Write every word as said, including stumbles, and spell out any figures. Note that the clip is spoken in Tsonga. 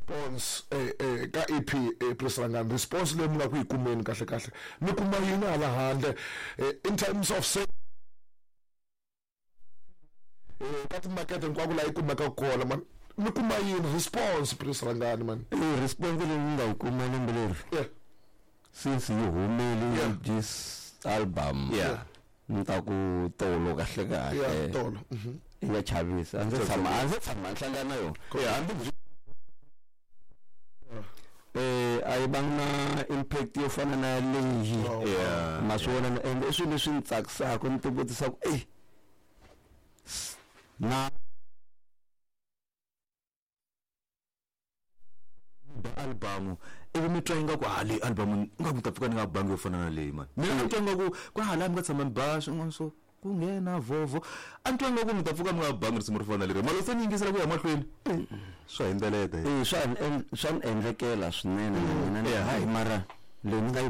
Response eh eh ka E P eh Prince Rhangani, response leyi mi nga ku yi kumeni kahle kahle mi kuma yini hala handle in terms of say eh ka timakete hinkwako laha yi kumekaka kona man, mi kuma yini response Prince Rhangani man? Eh response leyi ni nga yi kuma lembe leri yeah since yi humele Yeah. this album Yeah. ni ta ku tolo kahle kahle yeah tolo mhm ya chavisa a ndzi tshama a ndzi tshama hlangana na yona Yeah, hambi byi eh a yi vanga na impact yo fana na leyi Oh, Yeah. ma swi vona ende i swilo leswi ni tsakisaka ni ti vutisaka eh na album ivi mi twa ingaku ha leyi album ingaku mi ta pfuka ni nga bangi yo fana na leyi mani mina ni twa ingaku ku hala mi nga tshama mi ba swin'wana swo ku nghena vovo a ni twa ingaku mi ta pfuka mi nga bangi risimu ro fana na leri mara se ni yingisela ku ya mahlweni swa hindzeleta eh swa ni swa ni endlekela swinene na mina Yeah. hayi mara leyi ni nga yi